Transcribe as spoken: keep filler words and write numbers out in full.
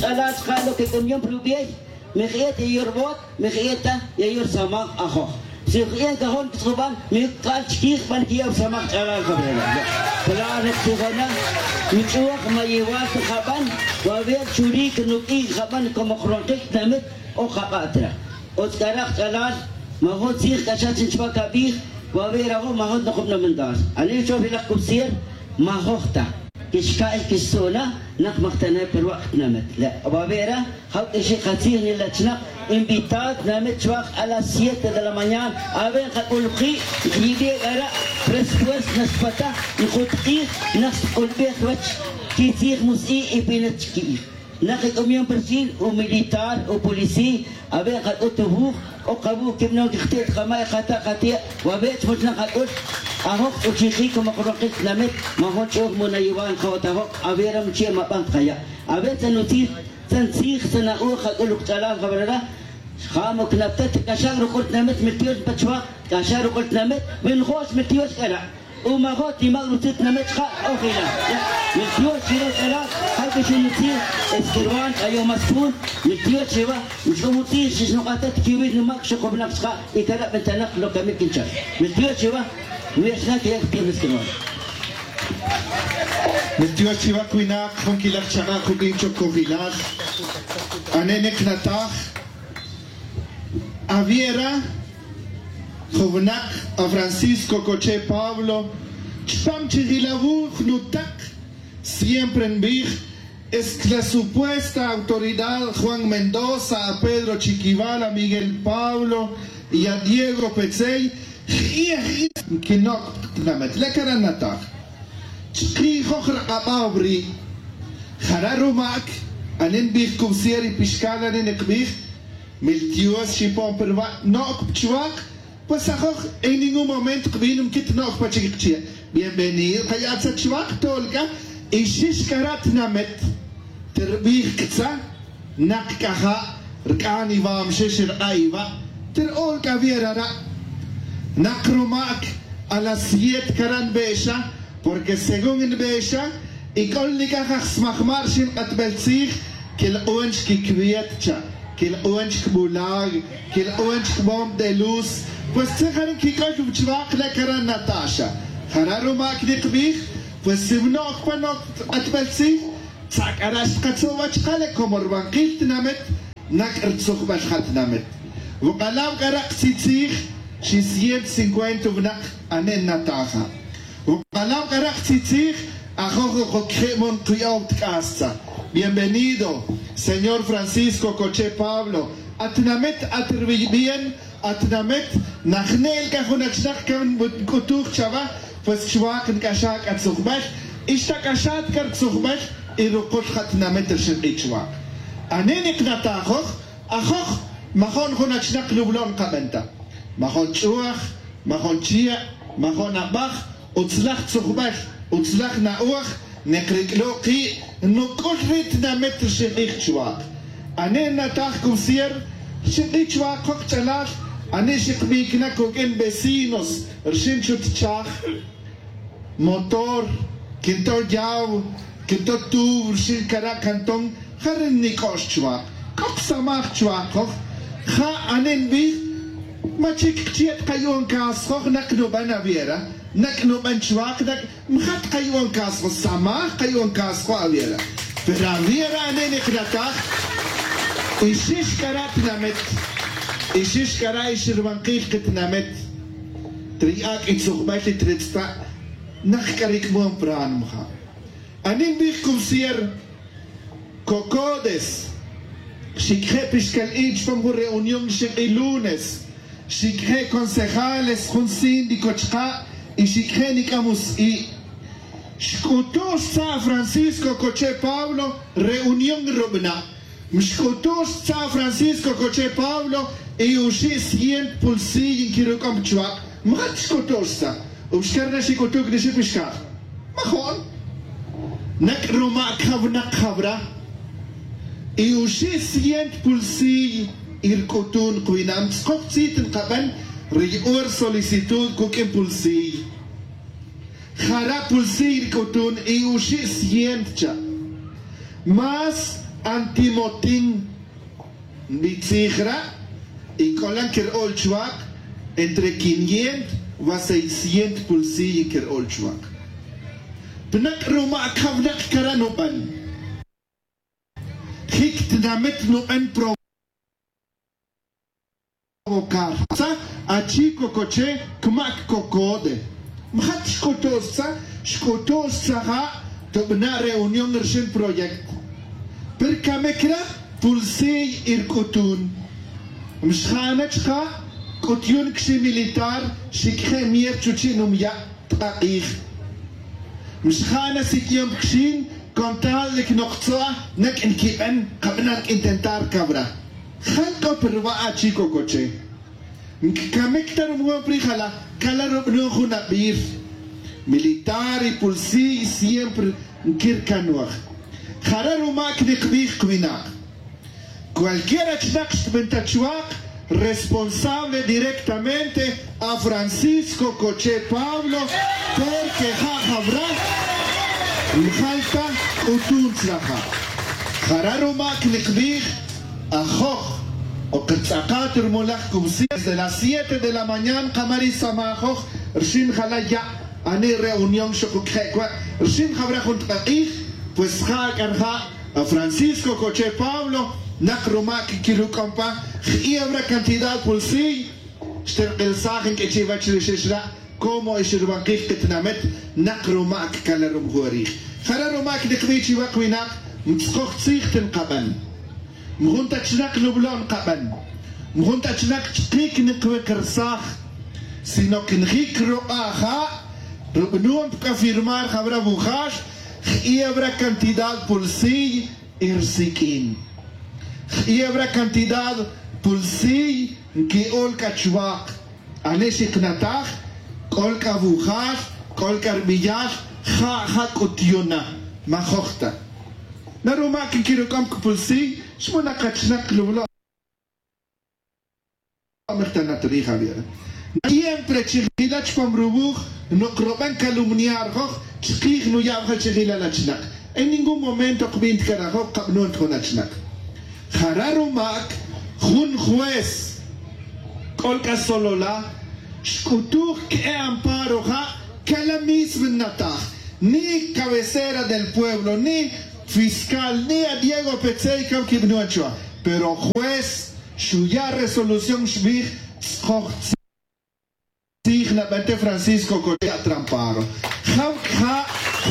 Ch'alal chka' lo que c'amiyon pa rubiey, mi je'et ya yorbo't, mi je'et ta ya yorsamaj ajoj. Si je'et cajon quitz'uban, mi c'al chiquij ban quiya' rusamaj ch'alal jabrela. Claro, nek tijona, mi ch'uj ma yiwal ta jaban, waver churi que nuq'ui jaban como jronqil tinamit o jaba'tra. Utz c'ara' kach'alal, majun tzij c'axan chin chubac abij, waver ajo majun ta nokub nomental. Ani choj rilak cubsier, majoj ta. Quixca'y quixsu'na, nak majtene' pa ruba' tinamit. Le' waver a, jawq'uixi katzij nilachnak, invitado tinamit chuak a las siete de la mañana. Awe' nkac'ul ki', nkiyibi' c'ara', presupuesto nax pataj, nkutk'ij, nax tk'ulbej ruwech, quitzij mus'i' y pinet chiquij. Nak i c'amiyon pa rixin, u militar, u policía, awe' nkac'ut u wuj, c'o kawu' quib non quijti' ta kama' y kata' kati', wawe' chmuch' nak kac'ul, ajoj ch'uchiji como jronqil tinamit, majun ch'uj mu nayiwan ja'ot ajoj, awe' ram chi' ma bant kaya'. Awe' tzan utzij, tzan tzij, tzan a'uj kac'ul u kach'alal jabrela, ja' mu cnaptet, c'axan ruc'ul tinamit, mi tiox pa chuak, c'axan ruc'ul tinamit, mi njo'x mi tiox c'ara'. U majot nimac rutzil tinamit chka' ojila. Miltiox chiwa ch'alal, ja' que xinutzi, esquirban, c'ayoj más pun, miltiox chiwa, xc'umutzij, xixnuk'atet, quiwil numac, xukubnak chka', y cara' bentanak, lo que me quinchar. Miltiox chiwa, wi xna que ya que tienes que no. Miltiox chiwa, cuinak, jun quilaj chaka', jun quin chocojilal. Ane' nek nataj, Aviera, jun winak, a Francisco Coche Pablo, chupam chijil awuj nutak, siempre nbij, es que la supuesta autoridad Juan Mendoza, a Pedro Chiquival, a Miguel Pablo y a Diego Petzey, j'i'ej, j'i'ej, quinoc' tinamit, le' cara' nataj. Chkijoj rak'abaw ri'. Jara' rumac, ane' nbij cubsier y pixcal ane' nkbij, miltiox xipon pa ruba', noc pa chuak, pues ajoj, en ningún momento kbin nquit noc pa chic kchia'. Bienvenido, kaya' tza chuak, tol c'a, y xix cara' tinamit, terbij ctza, nak c'aja', rc'an iwa, mxix rk'a' iwa, terol c'a wi rara'. Nak rumac, a las siete cara' nbe'xa, porque según nbe'xa, y c'o nic'aj aj smajma' rxin k'atbel tzij, quilk'un chic quicuet cha', quilk'un chic bulag, quilk'un chic bomb de luz, pues tzij jare' quic'ol chuak le' cara' nataxa. Jara' rumac nikbij, pues si noc pa noc k'atbel tzij, tzak' c'ara' xtkatzuj wach kale, como rbankil tinamit, nac' rtzujbel ja tinamit. Wuk'alaw c'ara' ktzitzij, xi ciento cincuenta winak ane' nataja. Wuk'alaw c'ara' ktzitzij, ajoj, ojo, quije' mon kuyo'ow tk'astza. Bienvenido, señor Francisco Coche Pablo. Atinamit, at rwiy bien, atinamit, najne'l c'a jun achnak can nc'utuj chawa, pues chuak nc'axaj c'a tzujbel, y xtac'axat c'a rtzujbel, y rukul ja tinamit rxin k'i chuak. Ane' niknatajoj, ajoj, majon jun achnak nublo' nkaben ta. Majon ch'uaj, majon chia', majon abaj, utzlaj tzujbel, utzlaj na'oj, nek ric'lo' ki', nuc'ul ri tinamit rxin k'ij chuak. Ane' nataj cubsier, rxin k'ij chuak jok ch'alal, ane' xikbicna cuq'uin vecinos, rxin chutchaj motor, quinto yaw, quinto tuw, rxin cara' cantón, ja re' nic'ox chuak. C'o ksamaj chuak joj, ja ane' nbij, ma chic kchia' tkayu'on cas joj, nac nuben awiera, nac nuben chuak, nac Mjat kayu'on cas joj, samaj kayu'on cas joj awiera. Pero awiera ane' niknataj, ixix c'ara' tinamit, ixix c'ara' ix rbankil kitinamit, tri ac' y tzujbel y tri tzta', nak c'a ric'mon pran mja. Ane' nbij cubsier, Cocodes, xicje' pixcal i' chupam jun reunión xik'i lunes, xicje' concejales jun síndico chka' y xicje' nic'am us'i'. Xc'utu' xtza' Francisco Coche Pablo reunión rubna'. Mxc'utu' xtza' Francisco Coche Pablo y uxi' cien pulsiy nquiruc'om chuak'. Mjat xc'utu' xtza'. Uxcar na xic'utu' c'a nixi pixcaj. Majo'n. Nac' ruma' cjawnak jawra. Y uxi' cien pulsiy y rc'utun kwinam tzkoj tzit nkaben ri yu'un rsolicitud cuq'uin pulsiy. Jara' pulsiy rc'utun y uxi' cien cha'. Más Antimotin nbitzij ra', y c'olan quer'ol chuak' entre quiniento va seisciento pulsiy quer'ol chuak'. Pnak' rumac jaw nak cara' nuben. Jic tinamit nuben provocar. Sa achi cocoche cmac cocode. Mjat xc'utu' xtza xc'utu' xtza ja' tubana' reunión rxin proyecto. Pero camic ra pulsiy irc'utun. Mxjana chka' c'utyon cxi militar xic je' mier chuchi' numya' tk'ak'ij. Mxjana sic'yon pcxin con tal de que noktzua nec' nquiben kabana' nc' intentar cabra. Jal c'o pa ruba' achi cocoche. Nc'amic ta rumujun pri jala cala rubanon jun abir. Militar y pulsiy siempre nquircanuaj. Jara' rumac nikbij cuinak. Cualquier achnak xtbenta chuak' responsable directamente a francisco coche pablo. Porque ja' jawra njal ta c'utun tzlaja'. Jara' rumac nikbij ajoj o kertz'akat rumulaj cubsi desde las siete de la mañana kama ri samajoj. Rxin jala ya' ani reunión xukuc je' cua' rxin jawra jun tk'ak'ij. Pues ja' c'a rja' a francisco coche pablo nak rumac quiruc'om pa. Ji'ewra cantidad pulsiy xterk'ilsaj nq'ui chi'wach ri xixra'. Como ixirbankij kitinamit nak rumac cala rumujun rij. Jara' rumac nikbij chiwak winak mtzkoj tzij tinkaben. Mjun ta chnak nublo' nkaben. Mjun ta chnak chkic nikwikirsaj. Sino que njic ruk'a' ja' rubanon pc'a firmar jawra wujal. Ji'ewra cantidad pulsiy y rsiq'uin. Ji'ewra cantidad pulsiy nqui'ol c'a chuwak. Ani xiknataj c'ol c'a wujal c'ol c'a rbiyal. Ja' ja c'utyon na majoj ta. Na rumac nquiruc'om cupulsiy xmuna kachnak lublo'. Mejta na ta rij awi'ra. Siempre chi jila chupam ruwuj. Nok ruben calumniar joj chkij nuya' wajal chi jila la chnak. En ningún momento kbin ta carajo kabnon ta jun achnak. Jara' rumac jun juez c'ol c'a solola xc'utuj que'e amparo ja' cala mismo nataj. Ni cabecera del pueblo ni fiscal ni a diego petzey cam quibnuan chuwa. Pero juez xuya' resolución xbij tzkoj tzij nabente francisco coche atramparo. Jam c'a